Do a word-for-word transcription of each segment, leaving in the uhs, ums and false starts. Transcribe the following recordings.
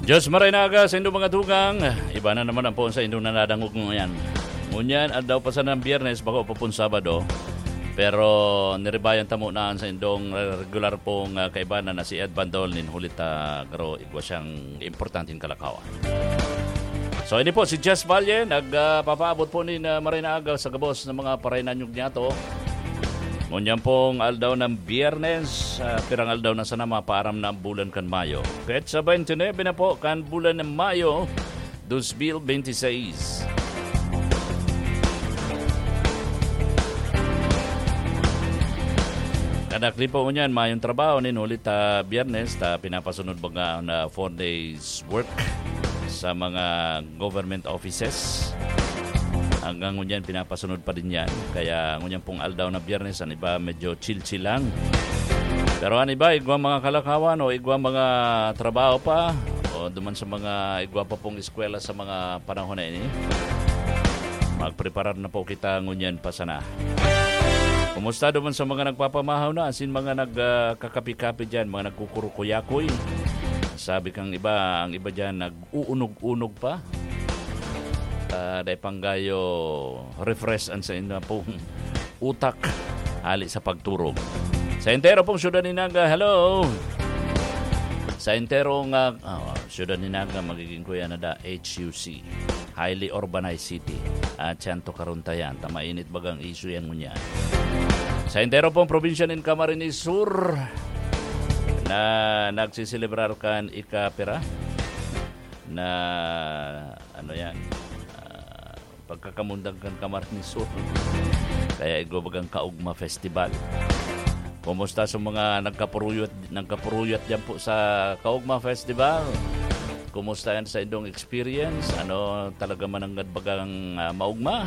Diyos maray na aga sa indong mga tugang. Iba na naman ang poon sa indong nanadangog ngayon. Ngunyan, aldaw pa sana ng Biyernes, bako pa pong Sabado. Pero niribayan tamo na sa indong regular pong ah, kaibanan na si Ed Bandol nin hulit ah, garo igwa siyang importanteng kalakawan. So, ini po si Jess Valle, nagpapaabot po nin ah, maray na aga sa gabos ng mga paray na nyug niyato. Ngunyan pong aldaw ng Biyernes, ah, pirang aldaw na sana mapaaram na ang bulan kan Mayo. Petsa twenty-nine na po kan bulan ng Mayo, dos mil bente seis. Kadakli po ngunyan, mayong trabaho nin huli ta Biyernes, ta pinapasunod baga na four days work sa mga government offices. Hanggang ngunyan, pinapasunod pa din yan. Kaya ngunyan pong aldaw na Biyernes, ang iba medyo chill-chill lang. Pero ang iba, igwa mga kalakawan o igwa mga trabaho pa, o duman sa mga igwa pa pong eskwela sa mga panahon na ini, magpreparar na po kita ngunyan pa sana. Kumusta duman sa mga nagpapamahaw na, asin mga nagkakapi-kapi dyan, mga nagkukurukuyakoy? Sabi kang iba, ang iba dyan nag-uunog-unog pa. Ah, dai panggayo refresh an sa inyo pong utak hali sa pagturog. Sa entero pong syudad ni Naga, hello! Sa entero nga, ah, syudad ni Naga, magiging kuya na da, H U C. Highly urbanized city. At siyan to karuntayan. Ta mainit bagang issue yan ngunyan. Sa entero pong probinsya nin Camarines Sur, na nagsiselebrar kan ikapira na, ano yan, ah, pagkakamundang kan Camarines Sur. Kaya igwa bagang Kaugma Festival. Kumusta sa mga nagkapuruyot, nagkapuruyot dyan po sa Kaugma Festival? Kumusta yan sa indong experience? Ano talaga mananggad bagang ah, maugma?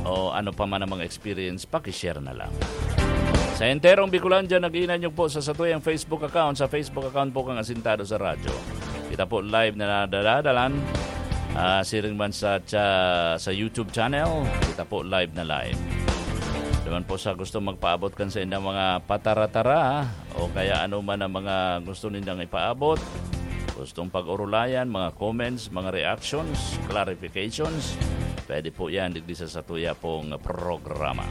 O ano pa man ang mga experience, pakishare na lang. Sa enterong Bicolandia, nag-iinanyog po sa satuyang Facebook account, sa Facebook account po kang Asintado sa Radyo. Kita po live na nadadadalan. Ah, siring man sa, cha- sa YouTube channel, kita po live na live. Naman po sa gusto magpaabot kan sa indang mga pataratara o kaya ano man ang mga gusto nindang ipaabot, gustong pag-urulayan, mga comments, mga reactions, clarifications, pwede po yan digdi sa satuya pong programa.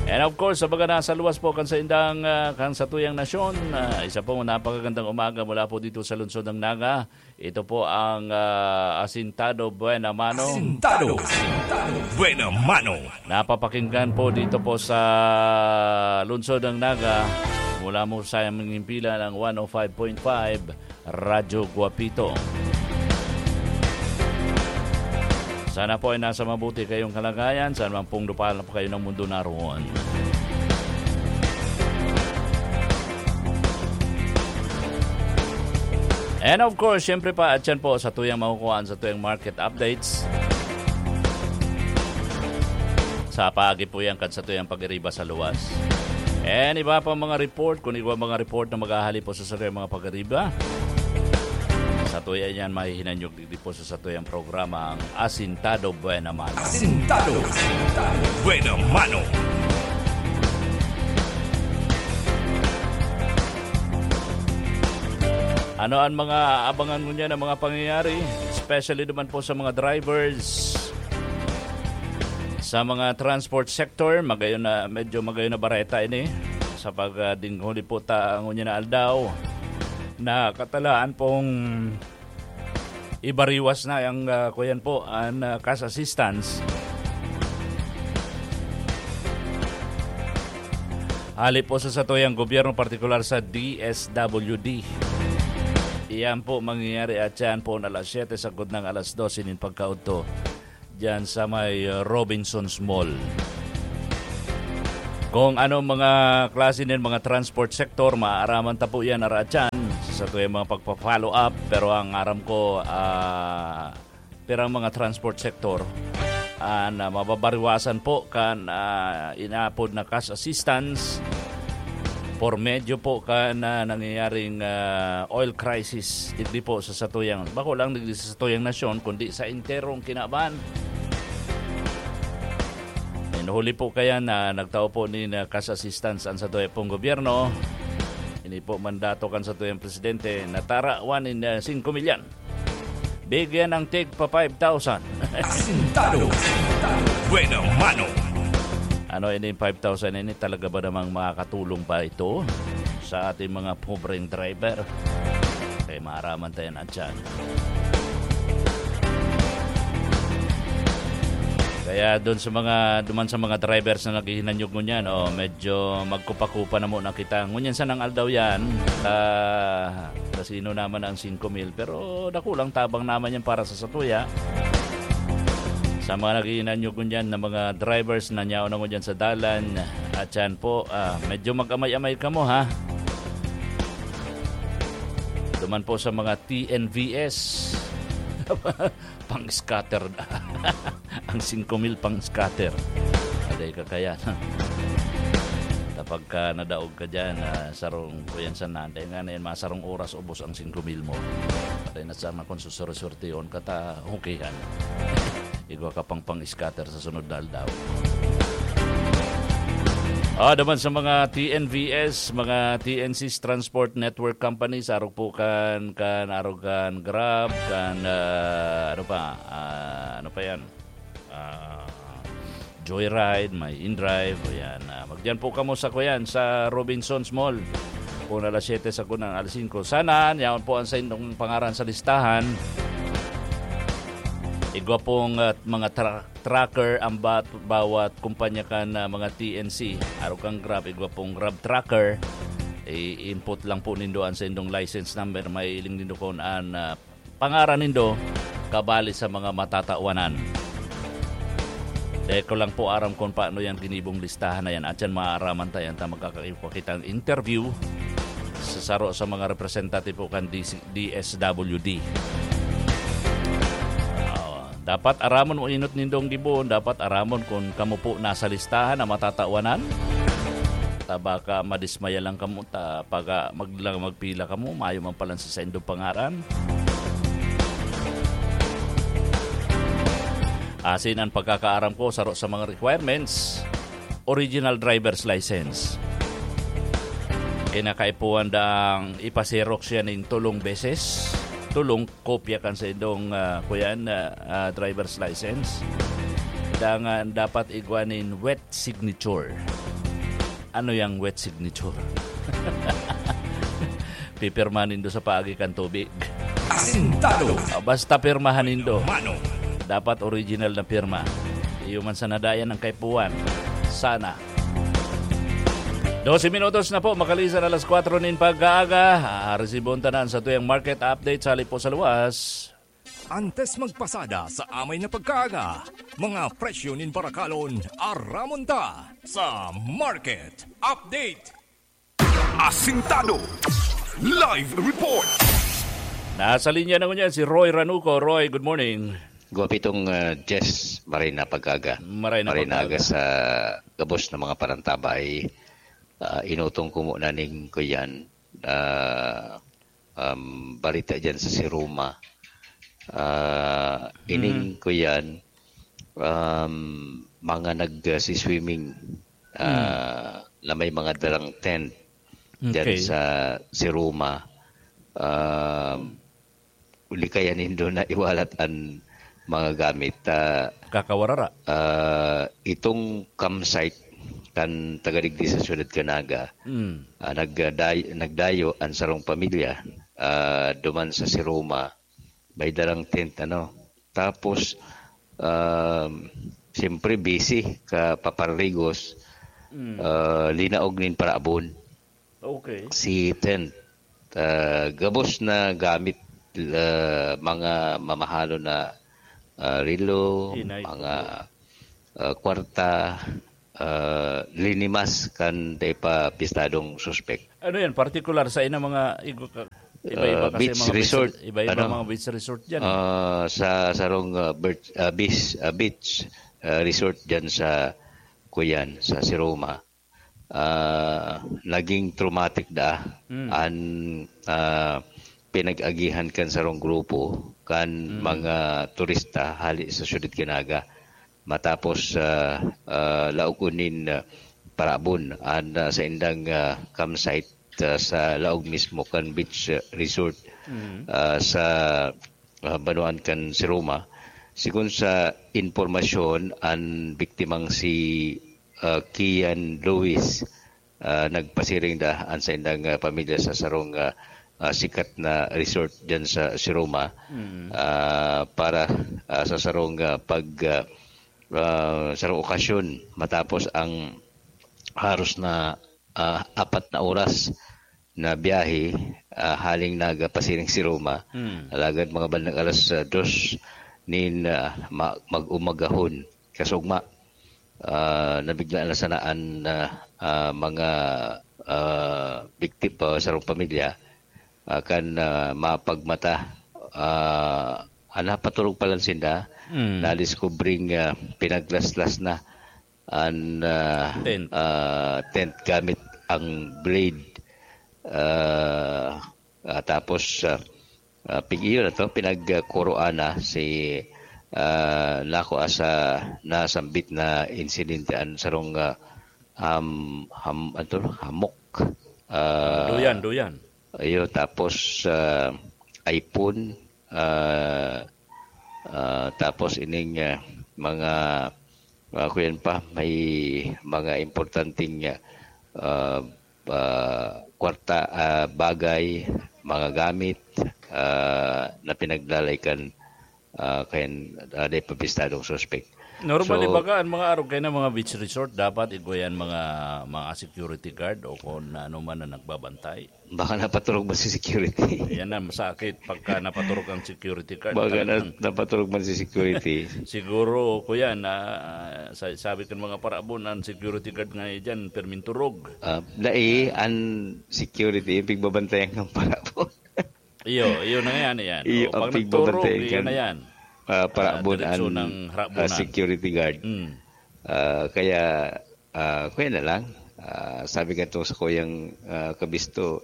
And of course, sa mga nasa luwas po kan sa indang, ah, kan satuyang nasyon, ah, isa pong napakagandang umaga mula po dito sa lungsod ng Naga. Ito po ang ah, Asintado Buena Mano. Asintado. Asintado Buena Mano. Napapakinggan po dito po sa lungsod ng Naga. Mula mo sa aming himpilan ang one oh five point five Radyo Guapito. Sana po ay nasa mabuti kayong kalagayan, saan man pong lupalop kayo ng mundo naroon. And of course, syempre pa, at yan po, satuyang makukuhaan, satuyang market updates. Sa paagi po yan, kan satuyang pag-iriba sa luwas. And iba pa mga report, kung iba mga report na maghahali po sa satuyang mga pag-iriba. Satuya yan, mahihinanyog digdi po sa satuyang programa ang Asintado Buena Mano. Asintado. Asintado Buena Mano. Ano ang mga abangan ngunyan ng mga pangyayari, especially naman po sa mga drivers, sa mga transport sector? Magayon na, medyo magayon na bareta ini sa pag ah, dinghuli po ta ngunyan na aldaw na katalaan pong ibariwas na ang ah, kuyan po, ang ah, cash assistance. Hali po sa satuyang gobyerno, partikular sa D S W D. Iyan po mangyayari at yan po na alas siyete sagkod ng alas dose nin pagkaudto diyan sa may uh, Robinsons Mall. Kung ano mga klase ng mga transport sector, maaaraman ta po yan, aratyan, sa tuyang mga pagpa-follow up. Pero ang aram ko, ah, pirang mga transport sector, ah, na mababariwasan po kan ah, inaapod na cash assistance por medyo po kan ah, nangyayaring ah, oil crisis, digdi po sa satuyang, bako lang digdi sa satuyang nasyon, kundi sa enterong kinaban. Inuhuli po kaya na nagtao po ni na cash assistance ang satuya pong gobyerno. Ipo mandato kan satuyang presidente na tarawan nin, ah, singko mil yan. Bigyan ang tig pa five thousand. Asintado. Buena mano. Ano ini, five thousand ini, talaga ba namang makakatulong pa ito sa ating mga pobreng driver? Kaya maaraman tayo na dyan. Kaya doon sa mga, duman sa mga drivers na naghihinanyog ngunyan, oh, medyo magkupa-kupa na muna kita. Ngunyan sanang aldaw yan, ah, kasino naman ang singko mil, pero dakulang tabang naman yan para sa satuya. Sa mga naghihinanyog ngunyan na mga drivers na nyaon na ngunyan sa dalan, at yan po, ah, medyo mag-amay-amay kamo, ha? Duman po sa mga T N V S. Pang-scatter na. Ang singko mil pang-scatter. Aday ka kaya na. Kapag ka nadaog ka dyan, ah, sarong kuyan sa nanday nga na yan, masarong oras ubos ang singko mil mo. Patay na sana kung susurti-surtihon ka ta, okay yan. Igwa ka pang pang-scatter sa sunod na aldaw. Ah, naman sa mga T N V S, mga T N Cs, Transport Network Companies, arog po kan, kan, arog kan Grab, kan, ah, ano pa, ah, ano pa yan? Ah, Joyride, may InDrive, o yan. Ah, magdiyan po kamo sa, kuyan, sa Robinsons Mall. Kung alas siyete sa kunang alas singko. Sana, yaon po ang sa inyong pangaran sa listahan. Igwa pong, ah, mga tra-, tracker ang bat-, bawat kumpanya kan, ah, mga T N C. Arog kan Grab, igwa pong Grab tracker. I-input lang po nindo ang sa indong license number. Mailing nindo kung an, ah, pangaran nindo kabali sa mga matatawanan. Dahil ko lang po aram kung paano yan ginibong listahan na yan. At yan, maaraman tayo ta magkakipakitang interview sa saro sa mga representative po kan D C, D S W D. Ah, dapat aramon mo inot nindong gibohon, dapat aramon kung kamo po nasa listahan na matatawanan. Ta baka madismaya lang kamo, ta pag, ah, mag-, lang magpila kamo, mayo man palan sa saindong pangaran. Asin ang pagkakaaram ko, saro sa mga requirements, original driver's license. Kinakaipuhan dang ipaserok siya ning tulong beses, tulong kopya kan sa indong, ah, kuyan, ah, ah, driver's license. Dangan dapat igwa nin wet signature. Ano yang wet signature? Pipirma nindo sa paagi kan tubig. Asintado. Ah, basta pirmahan nindo. Mano. Dapat original na pirma. Iyo man sa nadayan ang kaipuhan. Sana. Dose minutos na po, makalisan alas kwatro nin pag-aaga. Ah, resibon tanan sa tuyang market update sa Lipo sa Luwas. Antes magpasada sa amay na pagkaaga, mga presyo nin barakalon, aramon ta sa Market Update. Asintado. Live report. Nasa linya na ngunyan si Roy Ranuco. Roy, good morning. Guwapitong, ah, Jess, maray na pagkaaga. Maray na Maray na pagkaaga. aga sa gabos na mga parantabay. Ah, inutong ko muna ning kuyan. Ah, um, balita dyan sa Siruma. Ah, ining Mm. kuyan, um, mga nag, ah, si swimming, ah, Mm. na may mga dalang tent dyan Okay. sa Siruma. Um, uli kaya nindo na iwalat an mga gamit. Ah, Kakawarara. ah, itong campsite kan taga digdi sa Siyudad Canaga, Mm. ah, nagday-, nagdayo an sarong pamilya, ah, duman sa Siruma, may dalang tent, ano. Tapos, um, siyempre busy ka paparligos, Mm. ah, linaog nin paraabon Okay. si tent. Ah, gabos na gamit, ah, mga mamahalon na, ah, relo, Inay. mga, ah, kwarta, ah, linimas kan dai pa pistadong suspek. Ano yan? Particular sa ina mga igo ka-, iba-iba Ah, kasi beach mga beach resort, re-, iba-iba ano? mga beach resort dyan. Ah, sa sarong, ah, birch-, ah, beach, ah, beach, ah, resort dyan sa kuyan, sa Siroma. Ah, naging traumatic da Mm. an, ah, pinag-agihan kan sarong grupo kan Mm. mga turista hali sa Siyudad Canaga. Matapos, ah, ah, laog nin, ah, paraabon an, ah, saindang, ah, campsite ah, sa laog mismo kan beach, ah, resort, ah, sa, ah, banwaan kan Siroma. Sigon sa impormasyon, an biktimang si, ah, Kian Lewis, ah, nagpasiring daa an saindang, ah, pamilya sa sarong, ah, ah, sikat na resort diyan sa Siroma, ah, para, ah, sa sarong, ah, pag, ah, ah, sarong okasyon matapos ang haros na, ah, apat na oras na biyahe, ah, haling nagpasiring si Roma. Alagad mga bandang alas, ah, dos nin, ah, ma-, mag-umagahon, kasugma, ah, nabiglaan na sana an, ah, ah, mga, ah, biktima, sarong pamilya, ah, kan, ah, mapagmata, ah, an napaturog pa lang sinda, Mm. nadiskubring, ah, pinaglaslas na an, ah, Tent. ah, tent gamit ang blade. Ah, ah, tapos, ah, ah, pig-, iyo na to, pinagkuroan na si, ah, nako asa nasambit na insidente an sarong, ah, ham-, ham-, ano to, hamok. Ah, Duyan, duyan. Iyo, tapos, ah, iPhone, ah, ah, tapos ining, ah, mga, ah, kuyan pa, may mga importanteng, ah, ah, ah, kwarta, ah, bagay, mga gamit, ah, na pinaglalay kan, ah, kan, ah, dai pa bistadong suspek. Normally, So, baga, ang mga arog kayo na mga beach resort, dapat igwa yan mga, mga security guard o kung ano man na nagbabantay. Baka napaturog ba si security? Yan na, masakit pagka napaturog ang security guard. Baka na, Talagang napaturog man si security. Siguro, kuya, na, sa-, sabi kan mga paraabon, ang security guard nga dyan, perminturog. Ah, dai, an security, yung pigbabantayan ng paraabon. Iyo, iyo na yan, yan. Iyo, O, ang pag nagturog, pigbabantayan iyo kan, na yan. ah, paraabon Ah, diretso an, ng ah, harabunan. security guard. Mm. Ah, kaya, ah, kuya na lang. Ah, sabi nga to sa kuyang, ah, kabisto,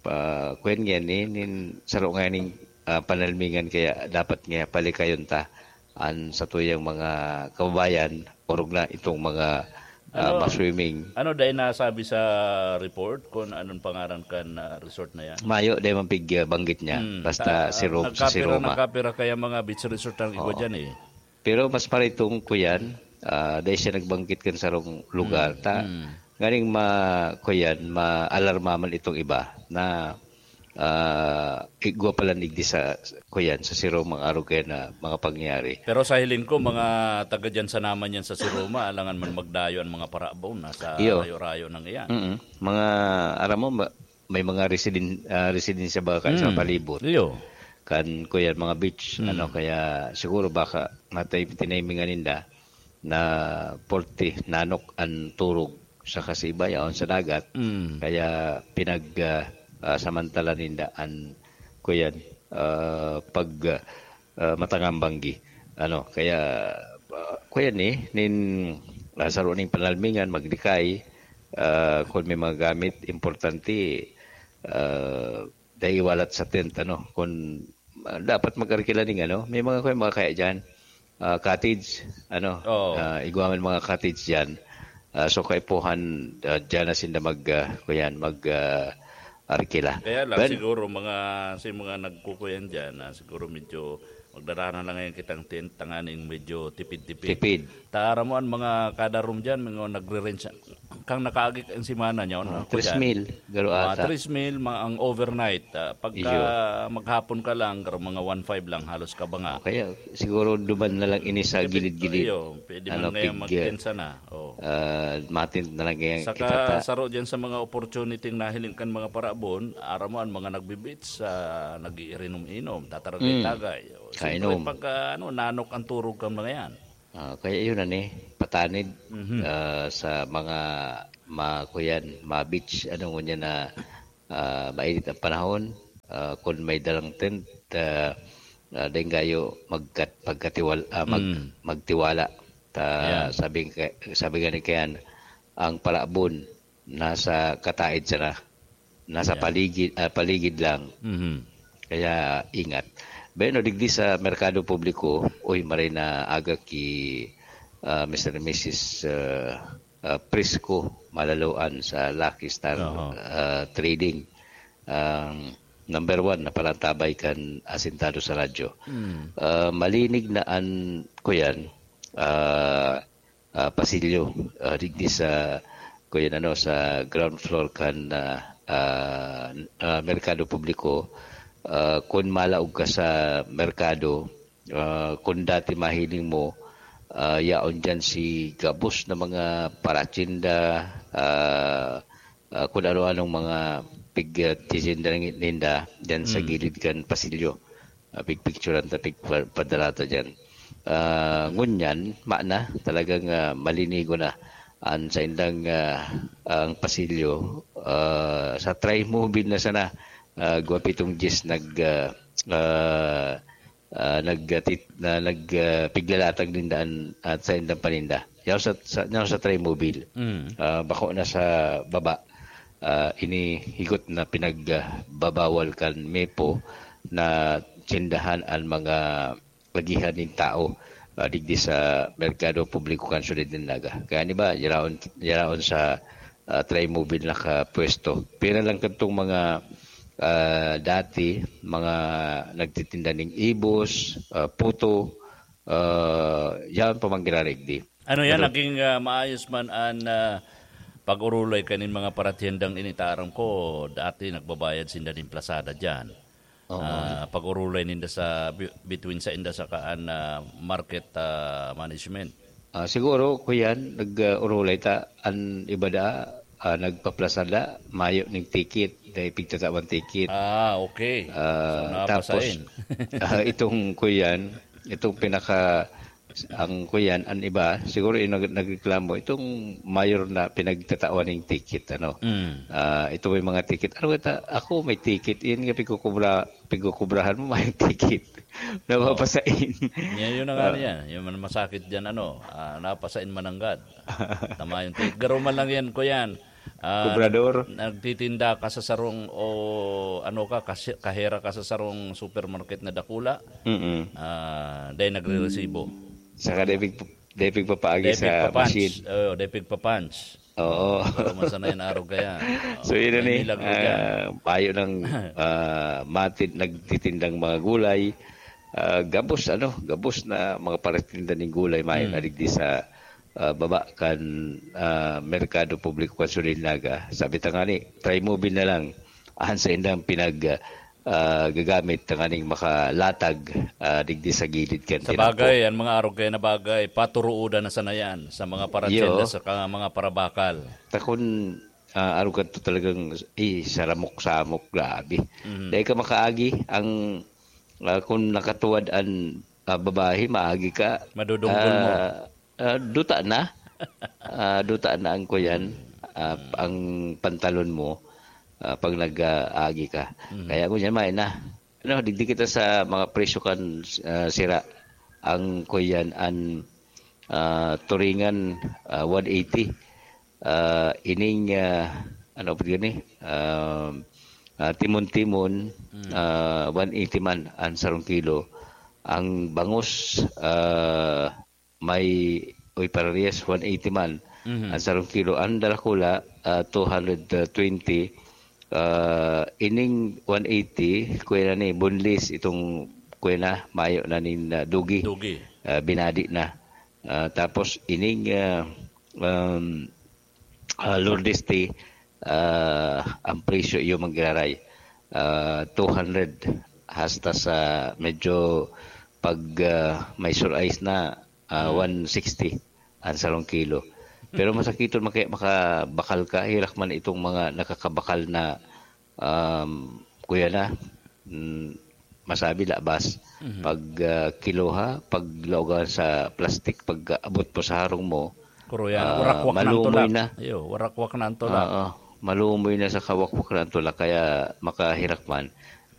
pa, kuya nga ni, nin, saro nga ning, ah, panalmingan kaya dapat nga palikayon ta an satuyang mga kababayan, orog na itong mga, ah, Ano, maswimming. ano dahil nasabi sa report kung anong pangaran kan, ah, resort na yan? Mayo, dahil man pig, ah, banggit niya. Hmm, Basta ta-, si Rom-, si nagkapira, Roma. nagkapira kaya mga beach resort ang igwa Oo. dyan eh. Pero mas paritong kuyan, ah, dahil siya nagbanggit kan sarong lugar, Hmm, ta, hmm. nganing ma-, kuyan, maalarma man itong iba na, ah, igwa pala nigdi sa, kuyan, sa Siroma ang arog kaya na mga pangyayari. Pero sa hiling ko, mga taga dyan sa naman yan sa Siroma, alangan man magdayo ang mga paraabon, nasa Iyo. rayo-rayo nang iyan. Mm-mm. Mga, aram mo, ma-, may mga residen-, ah, residensya ba kan sa Mm. palibot? Iyo. Kan, kuyan, mga beach, Mm. ano, kaya siguro baka matay-, tinimingan ninda na porte, nanok an turog sa kasibayaon sa dagat. Mm. Kaya pinag, ah, ah, samantala ninda an, kuyan, ah, pag, ah, matangambanggi. Ano, kaya, ah, kuyan ni, nin, ah, saro ning panalmingan, maglikay, ah, kung may mga gamit, importante, ah, dai iwalat sa tent, ano, kung, ah, dapat mag-arkila ning, ano, may mga, kuwan, mga kaya dyan, ah, cottage, ano, Oo. ah, igwa man mga cottage dyan. Ah, so, kaipuhan, ah, dyan na sinda mag, ah, kuyan, mag, ah, arkila. Kaya lang, Well, siguro, mga, si mga nagkukuyan dyan, ah, siguro medyo magdadaanan lang ngayon kitang tent, tanganing medyo tipid-tipid. Tipid. Tara mo, ang mga kada room dyan, mga nagre-rent siya. Kang nakaagi ang simana niya, Oh, ano, ako tres dyan. mil, garo Mga ata. tres mil, mga ang overnight. Ah, pagka Iyo. maghapon ka lang, garo mga one five lang, halos ka ba nga. O kaya, siguro duman na lang ini sa Pwede, gilid-gilid. iyo, pwede Ano, man ngayon pig-, mag-tensa na. Oh. ah, matent na lang ngayon Saka kita ta. saro dyan sa mga opportunity na hiling kan mga paraabon, aram mo, ang mga nagbe-beach, ah, nag-iirinom-inom, Mm. tataragay-tagay. O, Kainom. siyempre, pagka, ano, nanok ang turog kan mga yan. Ah, kaya yun, ano eh, patanid, Mhm. ah, sa mga, ma-, kuyan, mga beach, ano, ngunyan na, ah, mainit ang panahon, ah, kung may dalang tent, ah, ah, dahil kayo magkat-, pagkatiwal-, ah, mag-, Mm. magtiwala. Ta-, Ayan. sabi ka-, sabi nga ni Kian, ang palabon, nasa kataid sana, nasa Yeah. paligid, ah, paligid lang. Mhm. Kaya ingat. Bueno, digdi sa merkado publiko, uy, maray na aga ki, ah, Mister and Missus, ah, ah, Prisco malaloan sa Lucky Star, Oho. ah, Trading. Ang number one na palantabay kan asintado sa radyo. Mm. Ah, malinig na an, kuyan, ah, ah, pasilyo, ah, digdi sa, kuyan, ano, sa ground floor kan, ah, ah, ah, merkado publiko. Ah, kun malaog ka sa merkado, ah, kun dati mahiling mo, ah, yaon diyan si gabos na mga paratinda, ah, ah, kun ano-anong mga pig-, ah, titinda ninda diyan sa Mm. gilid kan pasilyo. Ah, pigpicturan ta, pigpa-, padala ta diyan. Ah, ngunyan, mayo na, talagang, ah, malinigo na an saindang, ah, ang pasilyo, ah, sa Trimobile na sana, ah, gwapitong Jis nag, ah, ah, ah, nag-, ah, tit-, na nag, ah, piglalatag ninda an, at saindang paninda. Yaw sa, sa, yaw sa Trimobile. Mm. Ah, bako na sa baba. Ah, ini higot na pinagbabawal kan mepo na tindahan an mga agihan nin tao, ah, digdi sa merkado publiko kan syudad nin Naga. Kaya, di ba, yaraon, yaraon sa, ah, Trimobile nakapwesto. Pira lang kadtong mga, ah, dati, mga nagtitinda ning ibos, ah, puto, ah, yaon pa man giraray digdi. Ano yan, Pero naging, ah, maayos man an, ah, pag-orolay kaning mga paratihendang ini? Ta aram ko, dati nagbabayad sinda nin plasada diyan. Oo. Ah, pag-orolay ninda sa bi-, between sainda saka an, ah, market, ah, management. Ah, siguro, kuyan, nag, ah, orolay ta, an iba da, ah, nagpaplasada, mayo ning ticket, dai pigtatawan ticket. Ah, okay. Ah, So, tapos, napasain. ah, itong, kuyan, itong pinaka, ang, kuyan, an iba, siguro yung nag-, nagreklamo, itong mayor na pinagtatawan ng ticket, ano. Mm. Ah, ito may mga ticket. Ano ka ta-, ako may ticket, yun nga pigkukubra-, pigkukubrahan mo, may ticket. Napapasain. Yan, yun na nga Ah. niya. Yung man-, masakit dyan, ano, ah, napasain mananggad. Tama yung ticket. Garo man lang yan, kuyan. Ah, Kobrador. nagtitinda ka sa sarong o ano ka, kasi-, kahera ka sa sarong supermarket na dakula, Mm-mm. ah, dahil nagre-resibo. Saka dai pig-, dai pigpapaagi Dai sa pigpa-punch. machine. Oo, dai pigpa-punch. Oo. Pero masana yan, arog kaya. So, Oo, yun na may ni, milagro dyan. ah, payo ng, ah, matid-, nagtitindang mga gulay. Ah, gabos, ano, gabos na mga paratinda ning gulay, may Hmm. nadigdi sa, ah, baba kan, ah, Merkado Publiko kan Sunil Naga. Sabi ta nga ni, Trimobile na lang. An saindang pinag, ah, gagamit tanganing makalatag, ah, digdi sa gilid kan Sa tinampo. bagay, ang mga arog kaya na bagay, paturuodan na sana yan sa mga paratinda, Iyo. sa ka-, mga parabakal. Ta kun, ah, arog ka to talagang, eh, saramok-samok, grabe. Mhm. Dai ka makaagi, ang, ah, kun nakatuwad an, ah, babae, maagi ka. Madudunggol mo. Ah, ah, duta na. Ah, duta na ang kuyan, ah, ang pantalon mo, ah, pag nag-aagi ka. Mhm. Kaya ngunyan, mayo na. Ano, digdi kita sa mga presyo kan, ah, sira. Ang kuyan, an, ah, turingan, ah, one eighty. Ah, ining, ah, ano pa gani? Ah, ah, timon-timon, Mm. ah, one eighty man ang sarong kilo. Ang bangus, ah, may, uy, parehas, one eighty man Mhm. ang sarong kilo. Ang dalakula, ah, two hundred twenty. Ah, ining one eighty, kuya na ni, boneless, itong kuya na, mayo na nin, ah, dugi. Dugi. Ah, binadi na. Ah, tapos ining, ah, um, ah, Lourdes tea, ah, ang presyo iyo manggiraray, ah, two hundred. Hasta sa medyo pag, ah, may surice na, ah, Hmm. one sixty ang sarong kilo. Pero masakiton man kaya makabakal ka, herak man itong mga nakakabakal na, um, kuya na, mm, masabi labas. Mhm. Pag, ah, kiloha, pag laogan sa plastic, pag abot po sa harong mo, Kuro yan, ah, warak-wak na ang malumoy tulak. na. Iyo, warak-wak na ang tulak. Oo, malumoy na sa kawakwak na ang tulak, kaya makahirak man.